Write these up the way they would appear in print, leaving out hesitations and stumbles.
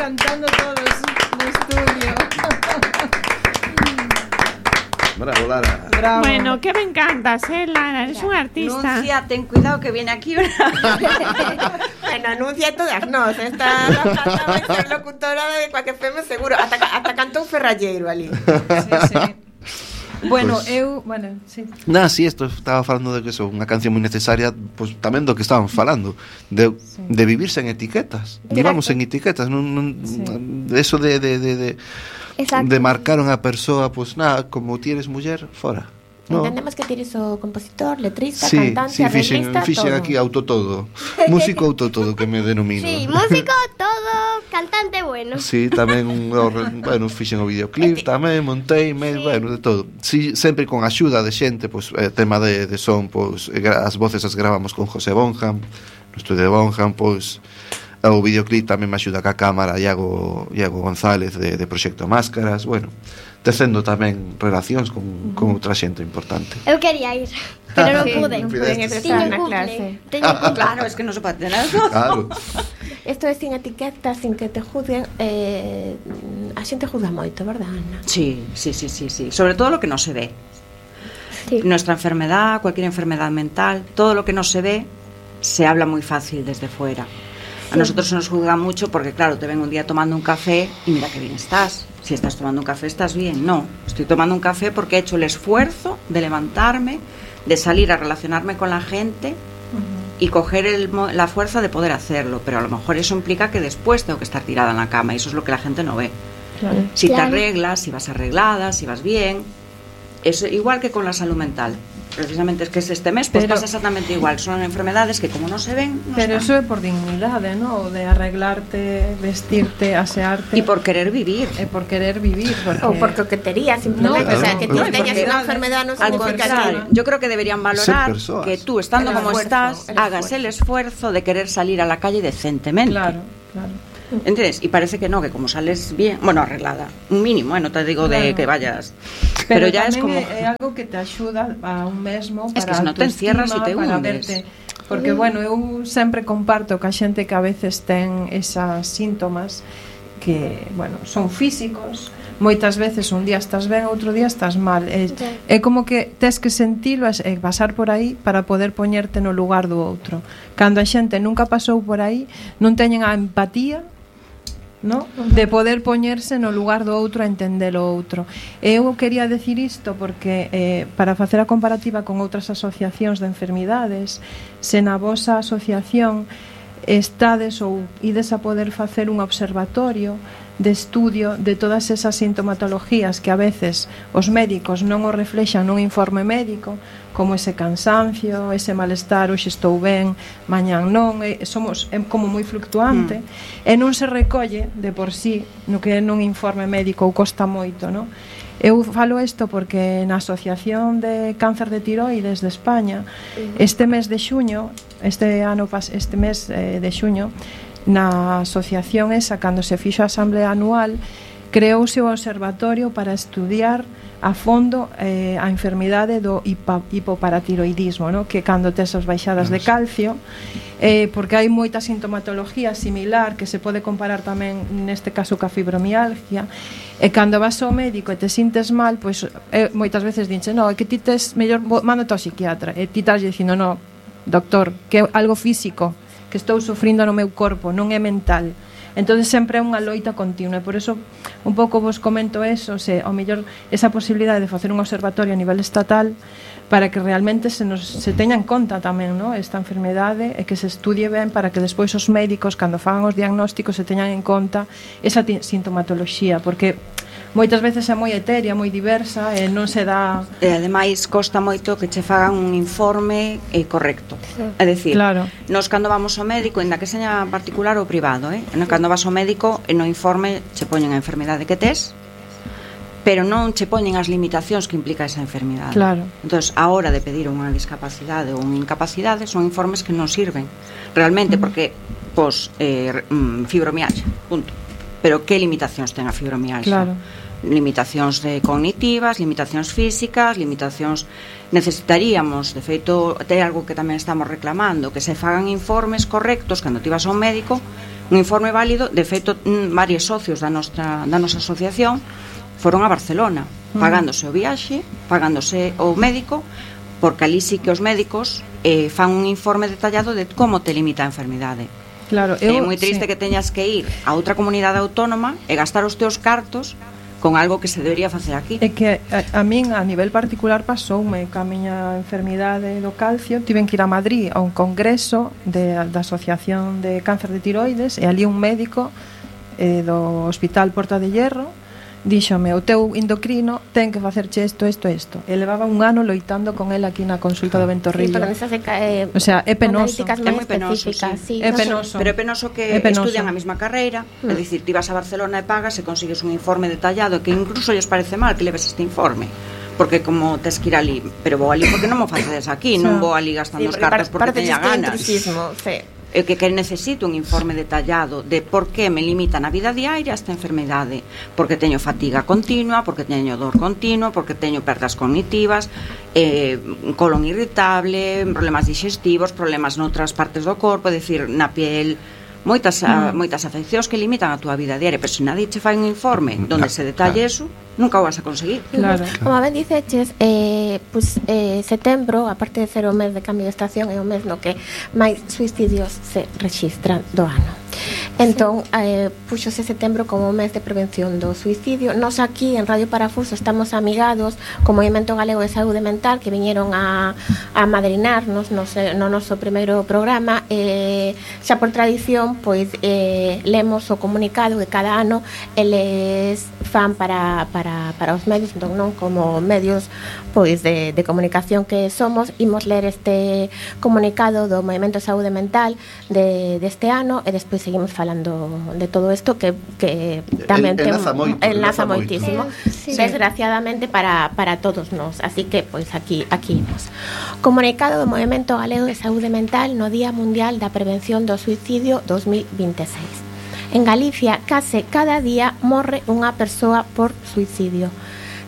cantando todos no estudio. Bravo, Lara. Bravo. Bueno, que me encantas, Lara, eres un artista. Nuncia, ten cuidado que viene aquí una... Bueno, anuncia todas nós. Esta vai ser locutora de cualquier FM seguro. Hasta cantou Ferralleiro ali. Sí. Bueno, Pues, sí. Sí, esto estaba falando de que é unha canción moi necesaria, pues tamén do que estaban falando, de vivirse en etiquetas. Vivamos en etiquetas, eso de marcar unha persoa, pues nada, como ti eres muller, fora. No. Entendemos que tienes o compositor, letrista, sí, cantante, arreglista, fixen todo. aquí autotodo. Músico autotodo, que me denomino. Sí, músico, todo, cantante bueno. Sí, tamén fixen o videoclip, tamén montei, bueno, de todo. Sí, sempre con axuda de xente, pues tema de son, pues as voces as gravamos con José Bonham, no estudio de Bonham, pues o videoclip tamén me axuda ca cámara Iago González de Proxecto Máscaras, bueno, tecendo tamén relacións con outra xente importante. Eu quería ir, pero non pude. Tiño na clase. Claro, es que non se pode tener. Claro. Esto é sin etiquetas, sin que te juzguen. A xente juzga moito, verdad, Ana? Sí. Sobre todo lo que no se ve. Sí. Nuestra enfermedad, cualquier enfermedad mental, todo lo que no se ve, se habla muy fácil desde fuera. A nosotros se nos juzga mucho porque, claro, te ven un día tomando un café y mira qué bien estás. Si estás tomando un café, estás bien. No, estoy tomando un café porque he hecho el esfuerzo de levantarme, de salir a relacionarme con la gente y coger la fuerza de poder hacerlo. Pero a lo mejor eso implica que después tengo que estar tirada en la cama y eso es lo que la gente no ve. Claro. Si te arreglas, si vas arreglada, si vas bien. Es igual que con la salud mental. Precisamente es que este mes pues pasa exactamente igual. Son enfermedades que como no se ven, no pero están. eso é por dignidade, ¿no? De arreglarte, vestirte, asearte. Y por querer vivir. Por querer vivir. Ou por coquetería, simplemente. No, o sea, que ti no, teñas unha enfermedad no Al significa contrario, yo creo que deberían valorar personas. que tú, estando El como esfuerzo, estás, hagas el esfuerzo de querer salir a la calle decentemente. Claro. ¿Entiendes? Y parece que no, que como sales bien, bueno, arreglada, un mínimo, no te digo de que vayas, pero ya es como... é algo que te axuda a un mesmo para es que se no te encierras e te hundes. Porque, bueno, eu sempre comparto que a xente que a veces ten esas síntomas que, bueno, son físicos, moitas veces un día estás ben, outro día estás mal. É como que tes que sentilo e pasar por aí para poder poñerte no lugar do outro. Cando a xente nunca pasou por aí, non teñen a empatía, ¿no? De poder poñerse no lugar do outro a entender o outro. Eu quería decir isto porque para facer a comparativa con outras asociacións de enfermidades, se na vosa asociación estades ou ides a poder facer un observatorio de estudio de todas esas sintomatologías que a veces os médicos non o reflexan nun informe médico, como ese cansancio, ese malestar, hoxe estou ben, mañán non, é como moi fluctuante, e non se recolle de por sí no que é nun informe médico ou costa moito, non? Eu falo isto porque na Asociación de Cáncer de Tiroides de España, este mes de xuño, este mes de xuño, na asociación esa, cando se fixo a asamblea anual, creouse o observatorio para estudiar a fondo a enfermidade do hipoparatiroidismo, ¿no? Que cando tes as baixadas de calcio, porque hai moita sintomatología similar que se pode comparar tamén neste caso ca fibromialgia, e cando vas ao médico e te sintes mal, pois moitas veces dinche, no, é que ti tes mellor mándote ao psiquiatra, e ti estás dicindo, no, doctor, que é algo físico que estou sufrindo no meu corpo, non é mental. Entonces sempre é unha loita continua, e por eso un pouco vos comento eso, se ao mellor esa posibilidade de facer un observatorio a nivel estatal para que realmente se teña en conta tamén, ¿no? Esta enfermedade, e que se estudie ben para que despois os médicos, cando fagan os diagnósticos, se teñan en conta esa sintomatoloxía, porque moitas veces é moi etérea, moi diversa e non se dá... E ademais costa moito que che fagan un informe correcto. É dicir, claro, nos cando vamos ao médico, ainda que seña particular ou privado, cando vas ao médico, no informe che poñen a enfermidade que tes, pero non che poñen as limitacións que implica esa enfermidade. Claro. Entonces, a hora de pedir unha discapacidade ou unha incapacidade, son informes que non sirven realmente, porque fibromialgia, punto. Pero que limitacións ten a fibromialgia? Claro. Limitacións cognitivas, limitacións físicas, limitacións... Necesitaríamos, de feito, é algo que tamén estamos reclamando, que se fagan informes correctos cando ti vas ao médico Un informe válido, de feito, varios socios da nosa asociación foron a Barcelona, pagándose o viaxe, pagándose o médico, porque ali sí que os médicos fan un informe detallado de como te limita a enfermidade. Claro, É moi triste que teñas que ir a outra comunidade autónoma e gastar os teus cartos con algo que se debería facer aquí. É que a min a nivel particular pasoume ca miña enfermidade do calcio, tiven que ir a Madrid a un congreso da Asociación de Cáncer de Tiroides e ali un médico do Hospital Porta de Hierro díxome, o teu endocrino ten que facerche isto. E levaba un ano loitando con el aquí na consulta do Ventorrillo. O sea, é penoso. É moi penoso, sí. É penoso. Pero é penoso que estudian a mesma carreira, é dicir, ti vas a Barcelona e pagas e consigues un informe detallado que incluso lles parece mal que leves este informe. Porque como tes que ir ali, pero vou ali porque non mo facedes aquí, non vou ali gastando os cartos porque teña ganas. É que necesito un informe detallado de por que me limita na vida diaria esta enfermedade, porque teño fatiga continua, porque teño dor continua, porque teño perdas cognitivas, colon irritable, problemas digestivos, problemas noutras partes do corpo, é dicir, na piel, moitas afeccións que limitan a túa vida diaria, pero se nadie che fai un informe onde se detalle eso, nunca o vas a conseguir. Claro. Como ben diceches, setembro, aparte de ser o mes de cambio de estación, é o mes no que máis suicidios se rexistran do ano. Entón, puxose setembro como mes de prevención do suicidio. Nos aquí en Radio Parafuso estamos amigados co Movimento Galego de Saúde Mental, que viñeron a madrinarnos no noso primeiro programa. Xa por tradición, pois lemos o comunicado que cada ano eles fan para os medios, entón non como medios pois de comunicación que somos, imos ler este comunicado do Movimento de Saúde Mental deste ano e despois seguimos falando de todo isto que tamén enlaza moitísimo, sí. Desgraciadamente para todos nós, así que pois aquí imos. Comunicado do Movimento Galego de Saúde Mental no Día Mundial da Prevención do Suicidio 2026. En Galicia, case cada día morre unha persoa por suicidio.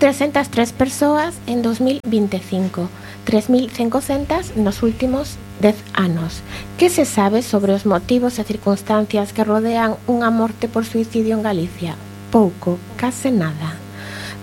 303 persoas en 2025, 3.500 nos últimos 10 anos. Que se sabe sobre os motivos e circunstancias que rodean unha morte por suicidio en Galicia? Pouco, case nada.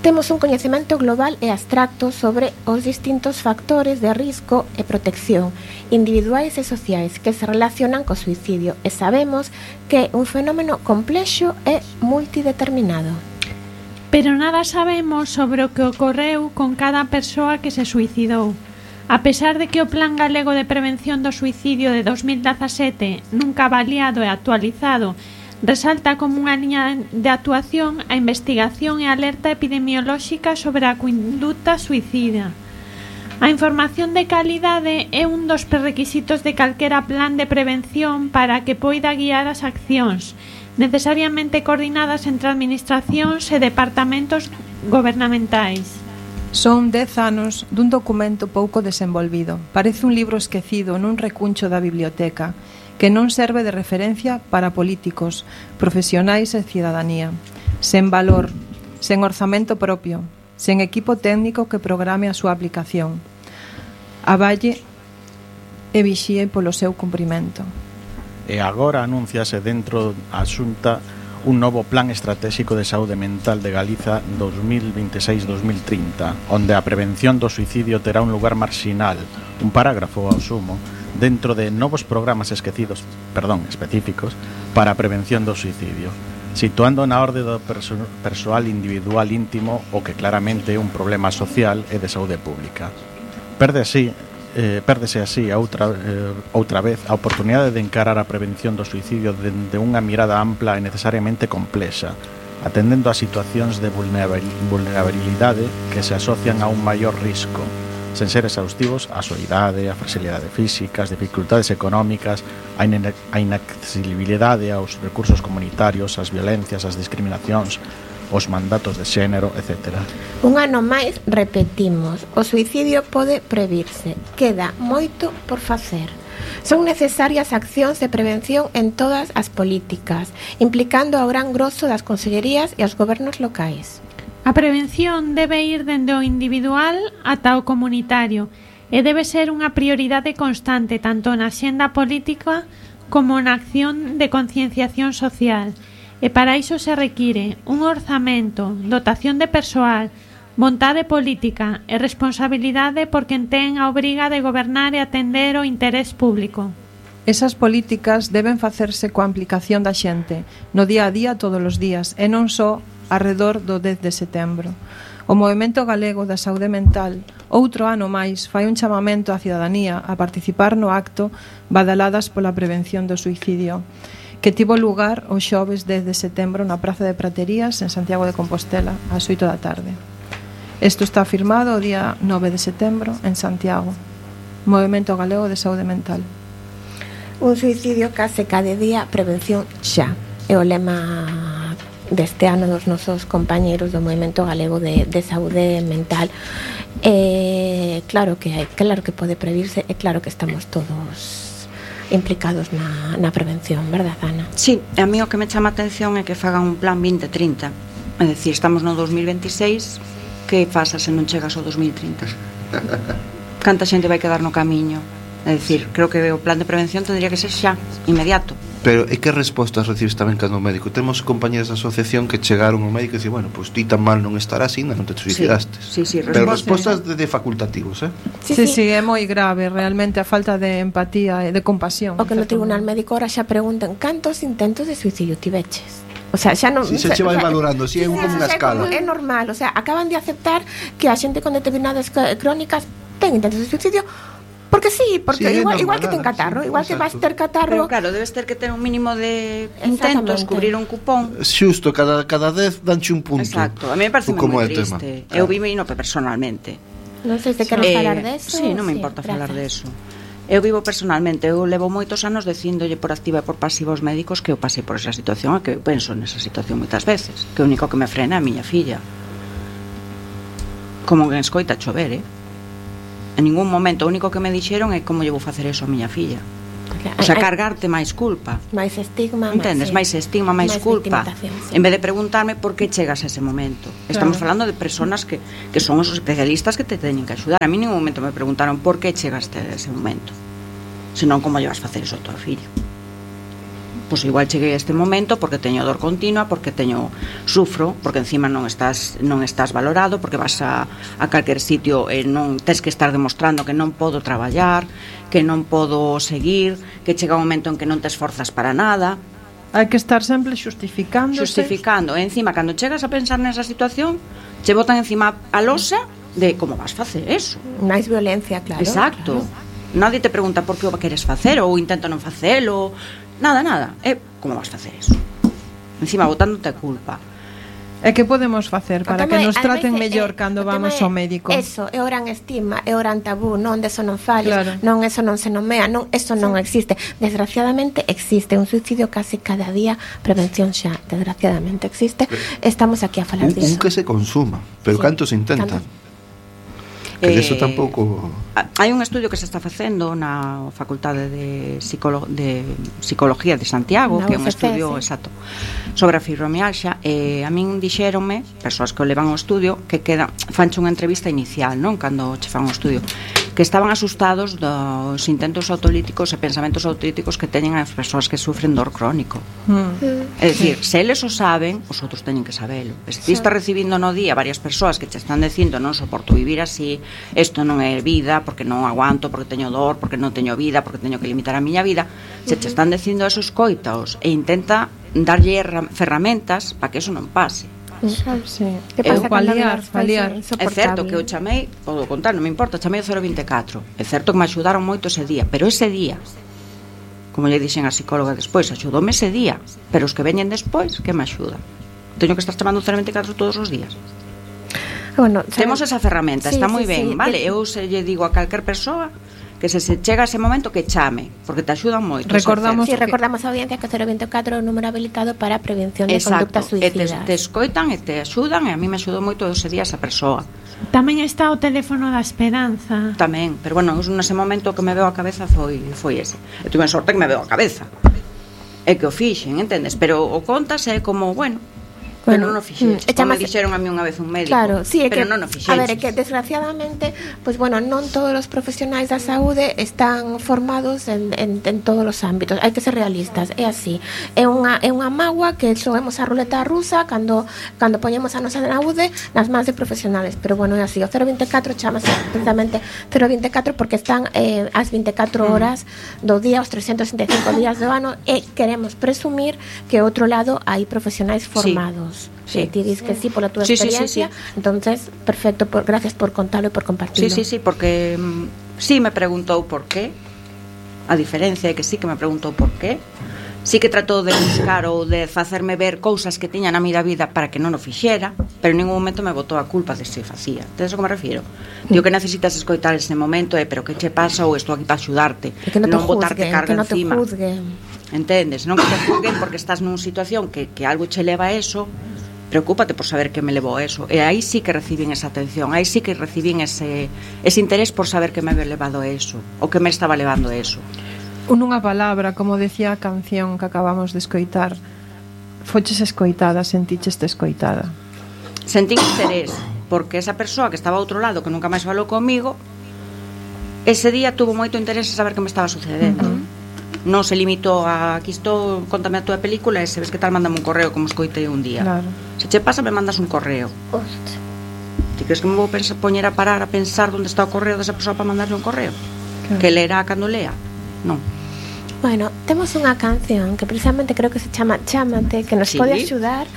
Temos un coñecemento global e abstracto sobre os distintos factores de risco e protección individuais e sociais que se relacionan co suicidio e sabemos que é un fenómeno complexo e multideterminado. Pero nada sabemos sobre o que ocorreu con cada persoa que se suicidou. A pesar de que o Plan Galego de Prevención do Suicidio de 2017, nunca avaliado e actualizado, resalta como unha liña de actuación a investigación e alerta epidemiolóxica sobre a conduta suicida. A información de calidade é un dos prerequisitos de calquera plan de prevención para que poida guiar as accións, necesariamente coordinadas entre administracións e departamentos gobernamentais. Son 10 anos dun documento pouco desenvolvido. Parece un libro esquecido nun recuncho da biblioteca que non serve de referencia para políticos, profesionais e cidadanía. Sen valor, sen orzamento propio, sen equipo técnico que programe a súa aplicación. Avalle e vixíe polo seu cumprimento. E agora anúnciase dentro a Xunta un novo Plan Estratégico de Saúde Mental de Galiza 2026-2030, onde a prevención do suicidio terá un lugar marxinal, un parágrafo ao sumo, dentro de novos programas específicos para a prevención do suicidio, situando na orde do persoal individual íntimo o que claramente é un problema social e de saúde pública. Pérdese así outra vez a oportunidade de encarar a prevención do suicidio dende unha mirada ampla e necesariamente complexa, atendendo a situacións de vulnerabilidade que se asocian a un maior risco, sen ser exhaustivos a soidade, a fragilidade física, as dificultades económicas, a inaccesibilidade aos recursos comunitarios, as violencias, as discriminacións, os mandatos de xénero, etc. Un ano máis repetimos, o suicidio pode previrse, queda moito por facer. Son necesarias accións de prevención en todas as políticas, implicando ao gran grosso das consellerías e aos gobernos locais. A prevención debe ir dende o individual ata o comunitario e debe ser unha prioridade constante tanto na axenda política como na acción de concienciación social, e para iso se require un orzamento, dotación de persoal, vontade política e responsabilidade por quen ten a obriga de gobernar e atender o interés público. Esas políticas deben facerse coa implicación da xente, no día a día todos os días, e non só arredor do 10 de setembro. O Movemento Galego da Saúde Mental, outro ano máis, fai un chamamento á cidadanía a participar no acto Badaladas pola Prevención do Suicidio, que tivo lugar o xoves 10 de setembro na Praza de Praterías en Santiago de Compostela, ás 8 da tarde. Isto está firmado o día 9 de setembro en Santiago. Movemento Galego de Saúde Mental. Un suicidio case cada día, prevención xa. É o lema deste ano dos nosos compañeiros do Movemento Galego de Saúde Mental. Claro que pode previrse, e claro que estamos todos implicados na prevención, verdad, Ana? Sí, a mí o que me chama a atención é que fagan un plan 2030. É dicir, estamos no 2026, que pasa se non chegas ao 2030? Canta xente vai quedar no camiño? É dicir, creo que o plan de prevención tendría que ser xa, inmediato. Pero e que respostas recibes tamén cando médico? Temos compañeros da asociación que chegaron ao médico e dicen, bueno, pues ti tan mal non estarás, ainda non te suicidaste. Sí, pero respostas de facultativos, Sí, é moi grave realmente a falta de empatía e de compasión. O que no tribunal médico ahora xa preguntan cantos intentos de suicidio tiveches. O sea, xa non se che vai valorando, si é como unha escala. É normal, o sea, acaban de aceptar que a xente con determinadas crónicas ten intentos de suicidio. Porque sí, porque igual que ten catarro, igual que vas ter catarro. Pero claro, debes ter que ter un mínimo de intentos, cubrir un cupón. Xusto, cada 10 danche un punto. Exacto, a mí me parece moi triste. Eu vivo personalmente. Non sei se queres falar deso. Sí, non me importa falar deso. Eu vivo personalmente, eu levo moitos anos dicíndolle por activa e por pasiva aos médicos que eu pasei por esa situación e que eu penso nesa situación moitas veces, que o único que me frena é a miña filla. Como que escoita chover, En ningún momento, o único que me dixeron é como lle vou facer eso a miña filla. O sea, cargarte máis culpa. Máis estigma. Entendes? Máis estigma, máis culpa. Sí. En vez de preguntarme por que chegas a ese momento. Estamos falando de personas que son os especialistas que te teñen que axudar. A mí en ningún momento me preguntaron por que chegaste a ese momento. Senón como lle vas facer eso a tua filla. Pois igual cheguei a este momento porque teño dor continua, porque sufro, porque encima non estás valorado, porque vas a calquer sitio e non tes que estar demostrando que non podo traballar, que non podo seguir, que chega un momento en que non te esforzas para nada. Hai que estar sempre xustificando. E encima, cando chegas a pensar nesa situación, che botan encima a losa de como vas facer eso. Máis violencia, claro. Exacto. Claro. Nadie te pregunta por que o queres facer ou intento non facelo. Nada. Como vas facer eso? Encima botándote a culpa. E que podemos facer para que nos traten mellor cando vamos ao médico? Eso, é o gran estigma, é o gran tabú, non deso non fales, non eso non se nomea, non eso non existe. Desgraciadamente existe un suicidio casi cada día, prevención xa, desgraciadamente existe. Estamos aquí a falar disso. Un que se consuma, pero canto se intenta. Que eso tampouco. Hai un estudio que se está facendo na Facultade de Psicología de Santiago, que é un estudio exacto sobre a fibromialgia, e a min dixéronme, persoas que o levan ao estudio, que fanche unha entrevista inicial, non, cando che fan o estudio, que estaban asustados dos intentos autolíticos e pensamentos autolíticos que teñen as persoas que sufren dor crónico. É dicir, se eles o saben, os outros teñen que sabelo. Se ti estás recibindo no día varias persoas que te están dicindo non soporto vivir así, isto non é vida, porque non aguanto, porque teño dor, porque non teño vida, porque teño que limitar a miña vida, se te están dicindo eso, escoitaos e intenta darlle ferramentas para que eso non pase. Sí. Paliar. É certo que eu chamei, podo contar, non me importa, chamei o 024. É certo que me axudaron moito ese día, pero ese día, como lle dixen a psicóloga despois, axudoume ese día, pero os que veñen despois, que me axudan? Teño que estar chamando o 024 todos os días? Bueno, temos esa ferramenta, está moi ben, vale? Eu se lle digo a calquer persoa que se chega ese momento que chame, porque te axudan moito. Recordamos a audiencia que o 024 é o número habilitado para a prevención de conductas suicidas. Te escoitan e te axudan, e a mí me axudou moito ese día esa persoa. Tamén está o teléfono da esperanza. Tamén, pero bueno, nese momento que me veo a cabeza foi ese. Eu tuve sorte que me veo a cabeza. É que o fixen, entendes? Pero o contas é como, bueno, Pero non o fixeches. E Como chamase- dixeron a mí unha vez un médico. Claro, sí, é pero que, non o fixeches. a ver, é que desgraciadamente, pois bueno, non todos os profesionais da saúde están formados en todos os ámbitos. Hai que ser realistas, é así. É unha mágoa que xoemos a ruleta rusa cando poñemos a nosa saúde nas mans de profesionales, pero bueno, é así. O 024 chamase precisamente 024 porque están as 24 horas do día, os 365 días do ano, e queremos presumir que ao outro lado hai profesionais formados. Sí. Ti dis que sí pola túa Sí, sí, experiencia, sí. entonces perfecto, gracias por contarlo e por compartirlo. Sí, porque sí me preguntou por qué. A diferencia é que sí que me preguntou por qué. Sí que tratou de buscar ou de facerme ver cousas que tiña na miña vida para que non o fixera, pero en ningún momento me botou a culpa de se facía. Entonces, a que me refiro? Digo que necesitas escoitar ese momento, pero que che pasa ou estou aquí para axudarte, E que non te botarte juzguen, carga que non te encima. juzguen. Entendes? Non que te juzguen porque estás nunha situación que algo che leva a eso. Preocúpate por saber que me levou a eso. E aí sí que recibín esa atención, aí sí que recibín ese interés por saber que me había levado a eso, o que me estaba levando a eso. Nunha palabra, como decía a canción que acabamos de escoitar, foches escoitada, senticheste escoitada. Sentín interés, porque esa persoa que estaba ao outro lado, que nunca máis falou comigo, ese día tuvo moito interés en saber que me estaba sucedendo. Non se limitou a aquí estou, contame a túa película e se ves que tal, mándame un correo como escoitei un día. Claro. Se che pasa, me mandas un correo. Hostia. Ti crees que me vou poñer a parar a pensar onde está o correo desa persoa para mandarle un correo? Claro. Que leerá cando lea? Non. Bueno, temos unha canción que precisamente creo que se chama Chámate, que nos Sí. pode axudar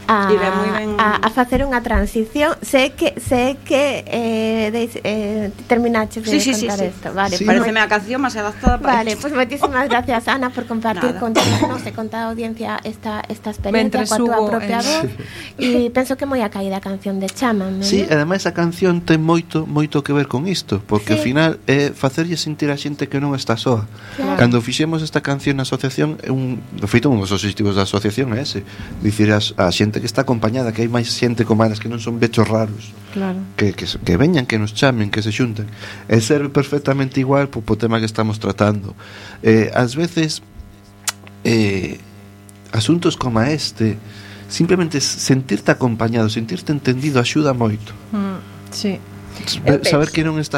a, Sí, ben, moi ben. a facer unha transición. Sé que terminaches de contar isto. Vale, Sí, pues, Pareceme a canción máis adaptada para vale, pues moitísimas gracias, Ana, por compartir Nada. con todos e con toda a audiencia esta experiencia Mentres coa túa hubo propia en- voz. E penso que moi a caída a canción de Chámame. Sí, ¿no? ademais a canción ten moito que ver con isto, porque Sí. ao final é facerlle sentir a xente que non está soa. Claro. Cando fixemos esta canción na asociación, de feito un dos obxectivos da asociación é ese, dicir a xente que está acompañada, que hai máis xente como elas, que non son bechos raros, Claro. que veñan, que nos chamen, que se xunten. E serve perfectamente igual po tema que estamos tratando. Ás veces asuntos como este, simplemente sentirte acompañado, sentirte entendido axuda moito. Sí. Saber que non está